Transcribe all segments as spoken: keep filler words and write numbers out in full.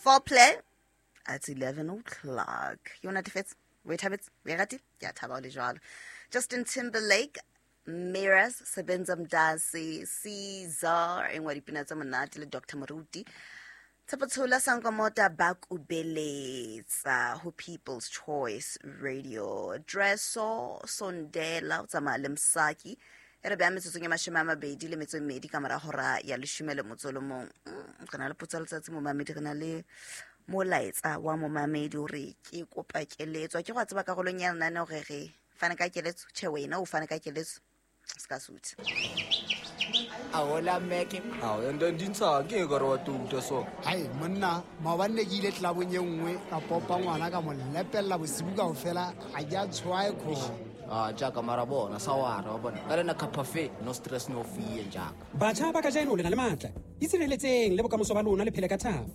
Foreplay at eleven o'clock. Ke o natefetse, o e thabetse, o e ratile? Ke a thaba o le jwalo. Justin Timberlake, Mirrors, Sebenza Mdasi, Caesar, e nngwe ya dipina tse monate le Doctor Moruti. Tshepo Tshola Sankomota ba kubeletsa ho People's Choice Radio. Dresso Sondela o tsamaya le Msaki. E re beha metsotsong e mashome a mabedi le metso e mmedi ka mora hora ya leshome le motso o le mong. Mm, re na le potso ya letsatsi momamedi, re na le molaetsa wa momamedi hore ke kopa keletso. Ke go a tseba karolong ya lenaneo re re fane ka keletso. Tjhe, wena o fane ka keletso. Se ka sutha. Ahola Meke. Ao, and then dintsha ke ka re wa tuta so. Hai monna, maobane ne ke ile clubong e nngwe ka popa ngwana ka mo lepella bosibu kaofela, ha ke a tshwae kho. Ah, jaaka mara bona sa wara wa bona. Ka lena cafe, no stress no fear jaaka. Batjha ba kajeno le na le matla. Itshireletseng le bokamoso ba lona le phele ka thabo.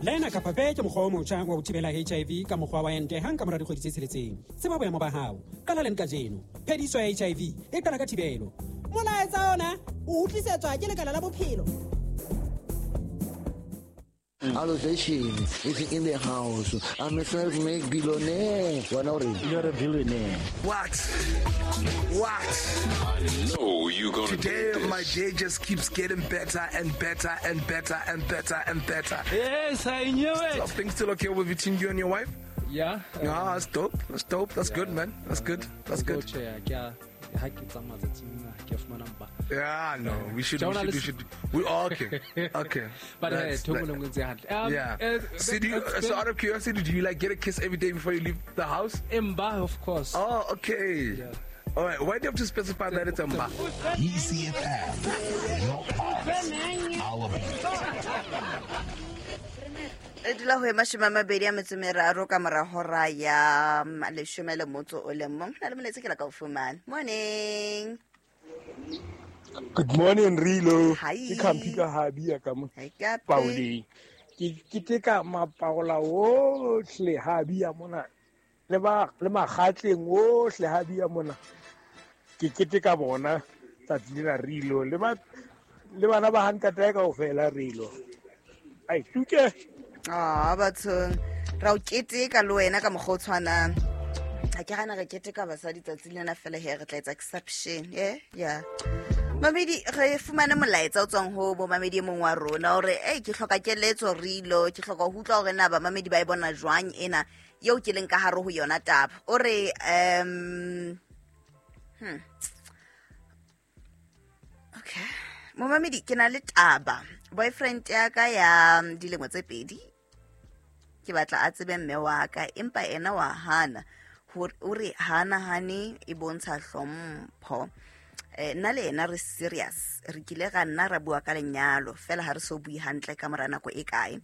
Lena Cafe ke mokgwa o motjha wa ho thibela H I V ka mokgwa wa ente hang ka mora dikgwedi tse tsheletseng. Tseba boemo ba hao. Qala leng kajeno. Phediso ya H I V e qala ka thibelo. Molaetsa ona o utlwisetswa ke Lekala la Bophelo. Allocation is in the house. I'm a self-made billionaire. Why not? You're a billionaire. What? What? I know you're gonna Today, do this. My day just keeps getting better and better and better and better and better. Yes, I knew it. So things still okay with between you and your wife? Yeah. Yeah, that's dope. That's dope. That's yeah. good, man. That's good. That's good. Yeah. Yeah, no, we should, we should, we should, we okay, okay. But uh, um, yeah. Uh, so, do you, so out of curiosity, do you like get a kiss every day before you leave the house? Mba, of course. Oh, okay. Yeah. All right. Why do you have to specify that it's Mba? E C F M, your pulse, our beat. E dula ho e mashome a mabedi a metso e meraro ka mora hora ya leshome le motso o le mong. Ho na le molaetsa ke la ka o fumana. Morning. Good morning, Rilo. Hi. Ke Khampi ka Habia ka mo. Hi, Kapi. Pauleng. Ke keteka mapaola ohle Habia mona. Le ba le makgatleng ohle Habia mona. Ke keteka bona tsatsi lena Rilo le ba le bana ba hantata kaofela Rilo. Ai tuke. Ah, bathong ra o keteka le wena ka mokgwa o tshwanang. Ha ke gana re keteka basadi tsatsi lena fela he re tla etsa exception. Yeah, yeah. Mamedi re fumane molaetsa o tswang ho bo mamedi e mong wa rona hore ei ke hloka keletso Rilo, ke hloka ho utlwa hore na ba mamedi ba e bona jwang ena eo ke leng ka hare ho yona taba. O re um hmm. Okay. Momamedi ke na le taba. Boyfriend ya ka ya dilemo tse pedi ke batla a tsebe mme wa ka empa ena wa hana. O re hana hane e bontsha hlompho. Eh nna le ena re serious, re kile ga nna ra bua ka lenyalo fela ha re so bue hantle ka mora nako e kae.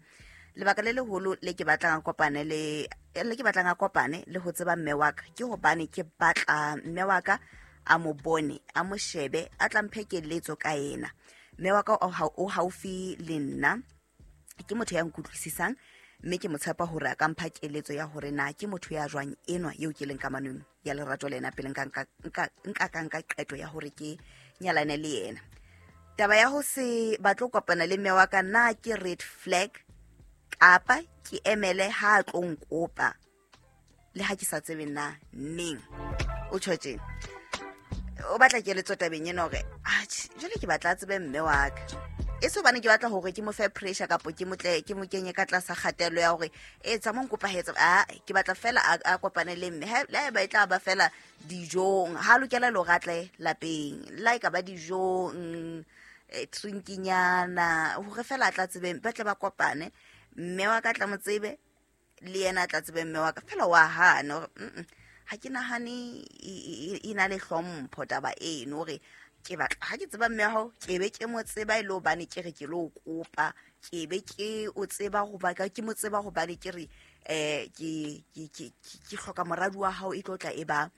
Lebaka le leholo le ke batlang a kopane le le ke batlang a kopane le ho tseba mme wa ka ke hobane ke batla mme wa ka a mo bone, a mo shebe, a tla mphe keletso ka yena. Mme wa ka o haufi le nna, ke motho ya nkutlwisisang mme ke mo tshepa hore a ka mpha keletso ya hore na ke motho ya jwang enwa eo ke leng kamanong ya lerato le ena pele nka nka nka ka nka qeto ya hore ke nyalane le yena. Taba ya ho se batle ho kopana le mme wa ka na ke red flag kapa ke emele ha a tlo nkopa le ha ke sa tsebe na neng. O tjho tjena o batla keletso tabeng ena hore atjhe jwale ke batla a tsebe mme wa ka. E se hobane ke batla hore ke mo fe pressure kapa ke motle ke mo kenye ka tlasa kgatello ya hore e tsa mo nkopa hetsa, a ke batla fela a kopane le mme. Le haeba e tla ba fela dijong, ha lokela le hore a tle lapeng, la e ka ba dijong, drinkinyana, hore fela a tla tsebe, ba tle ba kopane, mme wa ka tla mo tsebe le yena a tla tsebe mme wa ka. Fela wa hana hore ha ke nahane e na le hlompho taba eno hore ke batla ha ke tseba mme wa hao ke be ke mo tseba e le hobane ke re ke lo kopa, ke be ke o tseba hoba ke mo tseba hobane ke re eh ke ke ke ke hloka moradi wa hao e tlo tla e ba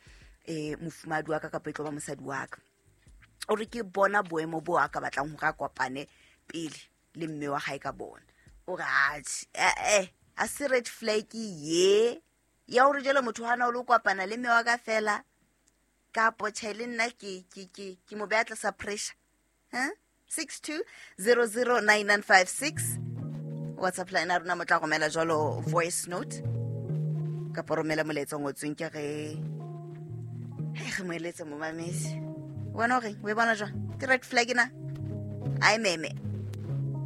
eh mofumadi wa ka kapa e tlo ba mosadi wa ka. O re ke bona boemo bo a ka batlang hore a kopane pele le mme wa hae ka bona. O re atjhe eh eh a se red flag ye ya hore jwale motho hana o lo kopana le mme wa ka fela kapo tjhe le nna ke ke ke ke mo beha tlasa pressure. Huh? six two zero zero nine nine five six. WhatsApp line ya rona mo tla romela jwalo voice note kapa romela molaetsa o ngotsweng ke re he re mo eletse momamedi. Wena o reng? O e bona jwang? Ke red flag na? A e meme.